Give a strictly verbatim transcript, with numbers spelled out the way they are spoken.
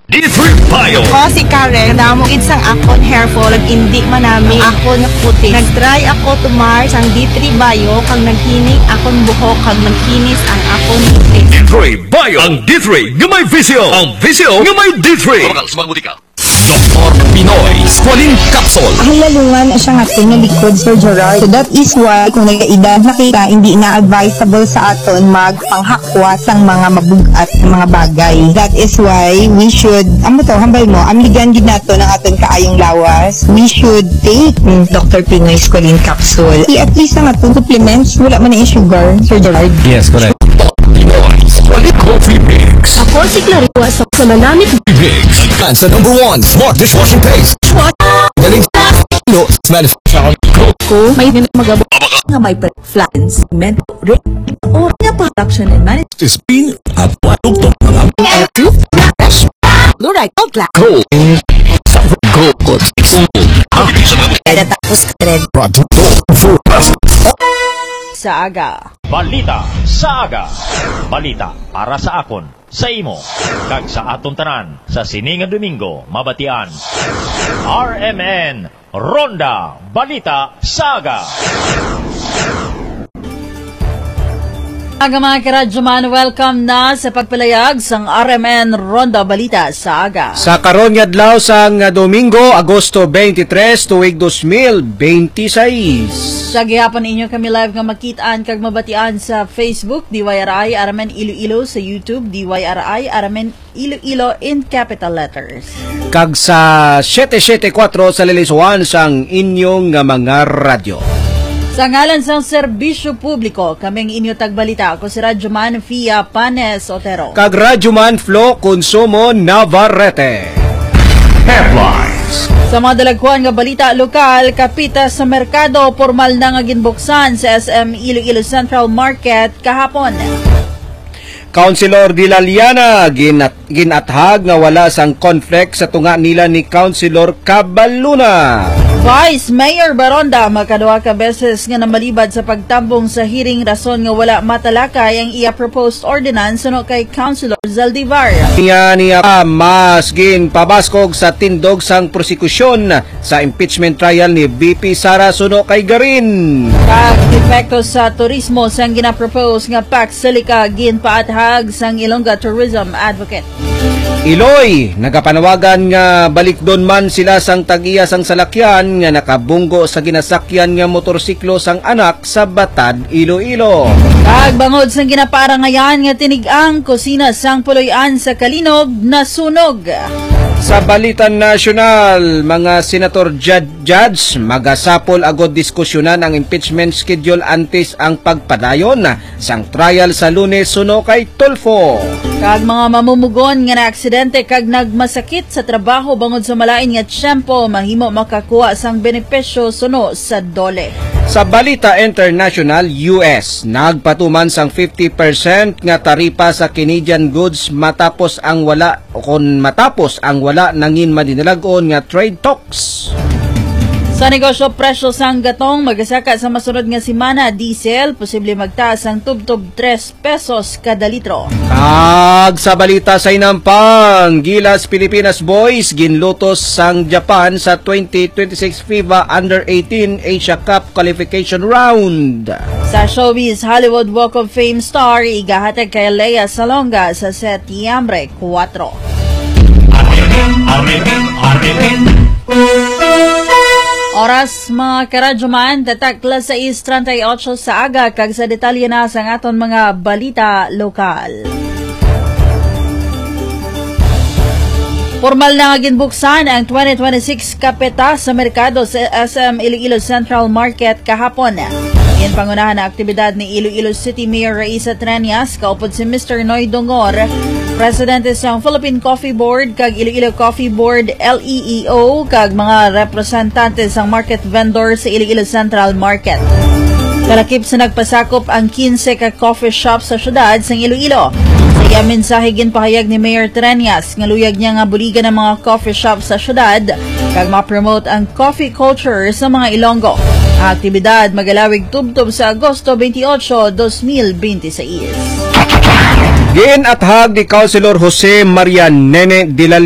D three Bio. Ako si Karen. Kadamo gid sang akon hair fall, indi manami ang akon nga kutis. Nag-try ako tumar sang D three Bio, kag naghining akon buhok, kag nagkinis ang akon kutis. D three Bio. Ang D three nga may visyo. Ang visyo nga may D three. Mabakal sa mga butika. Doktor Pinoy Squalene Capsule. Ang lalungan siya nga aton nga likod, Sir Gerard. So that is why kung nagkaedad na kita, hindi na advisable sa aton magpanghakwa sang mga mabug-at nga mga bagay. That is why we should, amo to, hambal mo, amligan gid nato ang aton kaayong lawas. We should take, mm, Doktor Pinoy Squalene Capsule. I-, at least ang aton supplements, wala man na yung sugar, Sir Gerard. Yes, correct. Pinoy Squalene Coffee Mix. Ako si Clarice sa Manamit. Mix. Ang sa number one smart dishwashing paste. What? Galing. No, manufacturer. Ko, may din magabo nga may pre-, flan, segmento, rin, o nga production and management. Spin at watugtog mga F U Flash. Fluoride, Old Class. Go. Go. Go. Kaya tapos ka rin. Product. Sa aga. Balita sa aga. Balita para sa akon, sa imo, kag sa aton tanan sa sini nga Domingo, mabatian. R M N Ronda Balita sa Aga. Aga, mga karadyoman, welcome na sa pagpalayag sang R M N Ronda Balita sa Aga. Sa karon nga adlaw sang Domingo, Agosto twenty-three, tuig dos mil benti sais. Sa gihapon, inyo kami live nga makit-an kag mabatian sa Facebook, D Y R I R M N Iloilo, sa YouTube, D Y R I R M N Iloilo in capital letters. Kag sa siyete siyete kuwatro sa lilisuan sang inyong nga mga radyo. Sa ngalan sang serbisyo publiko, kami ang inyo tagbalita. Ako si Radyoman Fia Panes Otero. Kag Radyoman Flo Consumo Navarrete. Headlines. Sa mga dalagkuan nga balita lokal, kapita sa merkado, pormal na nga ginbuksan sa S M Iloilo Central Market kahapon. Councilor Dilaliana, ginat-, ginathag nga wala sang conflict sa tunga nila ni Councilor Cabaluna. Vice Mayor Baronda, makaduha ka beses nga namalibad sa pagtambong sa hearing, rason nga wala matalakay ang iya proposed ordinance suno kay Councilor Zaldivar. Niya, niya pa, mas ginpabaskog sa tindog sang prosekusyon sa impeachment trial ni V P Sara suno kay Garin. Pag-epekto sa turismo sang ginapropose nga Pax Silica, ginpaathag sang Ilongga Tourism Advocate. Iloy, nagapanawagan nga balikdon man sila sang tag-iya sang salakyan nga nakabunggo sa ginasakyan nga motorsiklo sang anak sa Batad, Iloilo. Kag bangod sang ginaparangayan nga tinig-ang, kusina sang puloy-an sa Calinog nasunog. Sa balita nasyonal, mga senator, jud-, judge, magasapol agod diskusyonan ang impeachment schedule antes ang pagpadayon sang trial sa Lunes suno kay Tulfo. Kag mga mamumugon nga naaksidente kag nagmasakit sa trabaho bangod sa malain nga tiyempo mahimo makakuha sang benepisyo suno sa DOLE. Sa balita international, U S nagpatuman sang fifty percent nga taripa sa Canadian goods matapos ang wala o kon matapos ang wala nangin madinalag-on nga trade talks. Sa negosyo, presyo sang gatong magasaka sa masunod nga semana, diesel posible magtaas ang tubtob tres pesos kada litro. Kag sa balita sa inampang, Gilas Pilipinas Boys ginlutos sang Japan sa twenty twenty-six FIBA Under eighteen Asia Cup Qualification Round. Sa showbiz, Hollywood Walk of Fame star igahatag kay Lea Salonga sa Setyembre kuwatro. Oras, mga karadyoman, tatak las sais treinta y ocho sa aga, kag sa detalye na sa aton mga balita lokal. Pormal na nga ginbuksan ang twenty twenty-six Kapeta sa Merkado sa S M Iloilo Central Market kahapon. Ginpangunahan ang aktibidad ni Iloilo City Mayor Raisa Treñas, kaupod si Mister Noy Dongor, presidente sang Philippine Coffee Board kag Iloilo Coffee Board, L E E O, kag mga representante sang market vendor sa Iloilo Central Market. Kalakip sa nagpasakop ang quince ka coffee shop sa siyudad sang Iloilo. Sa iya mensahe, ginpahayag ni Mayor Treñas nga luyag niya nga buligan ang mga coffee shop sa siyudad kag ma-promote ang coffee culture sa mga Ilonggo. Ang aktibidad magalawig tubtob sa Agosto twenty-eight, twenty twenty-six. Ginathag ni Councilor Jose Maria Nene Dilal